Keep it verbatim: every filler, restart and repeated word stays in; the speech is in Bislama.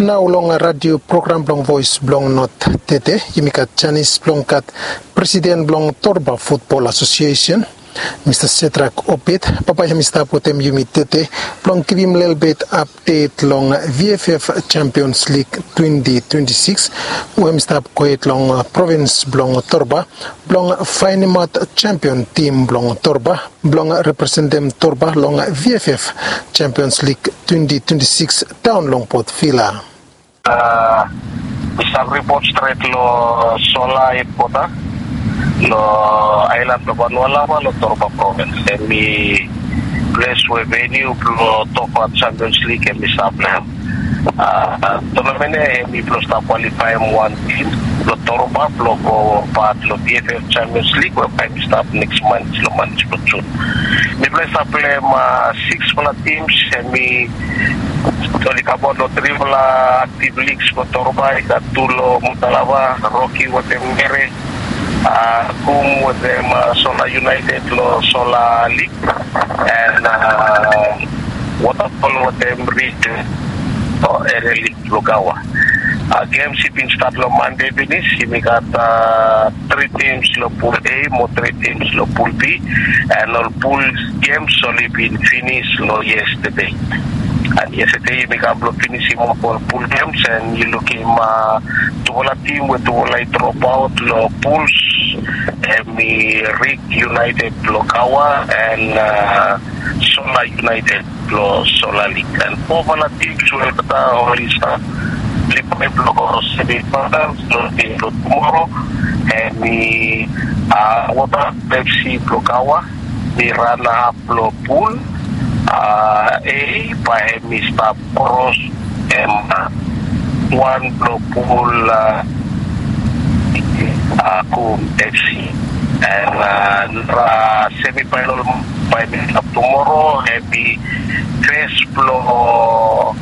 Nao long radio program blong Voes blong Not tede, yumi gat janis blong gat presiden blong Torba Futbol Asosiesen, Mista Sedrak Obed. Papa hem i stap wetem yumi tede blong givim lelebet apdet long V F F Champions League twenty twenty-six, we hem i stap gohed long provins blong Torba, blong faenemaot champion tim blong Torba blong representem Torba long V F F Champions League twenty twenty-six daon long Port Vila. Mi stap ripot stret long Sola hedkwota long aelan blong Vanualava long Torba provins. Hem i ples we veniu blong tokbaot Champions League hem i stap long hem. Tonamen ya hem i blong stap kwalifaem wan tim blong Torba blong go pat long V F F Champions League we bae hem i stap neks manet long manet blong Jun. Mifala i stap pleim siksfala tims, hem i oli kamaot long trifala aktiv ligs blong Torba, i gat tu long Mutalava, Roki wetem Mere, Kum wetem Sola United long Sola League, and Waterfall wetem Ridge long Area League blong Gaua. Gems i bin stat long Mande finis, yumi gat tri tims long Pul A mo tri tims long Pul B, and ol pul gems oli bin finis long yestede. And yestede yumi kam blong finisim ol pul gems, and yu lukim tufala tim we tufala i dropaot long puls, hem i Ridge United blong Gaua and Sola United blong Sola League. And fofala tims we olgeta oli stap kwalifae blong go semifinals long dei blong tumoro, hem i Waterfall F C blong Gaua, hem i ranap long pul A, bae hem i stap kros hem wan blong pul Kum F C. And nara semifinal bae hem i stap tumoro, hem i fes blong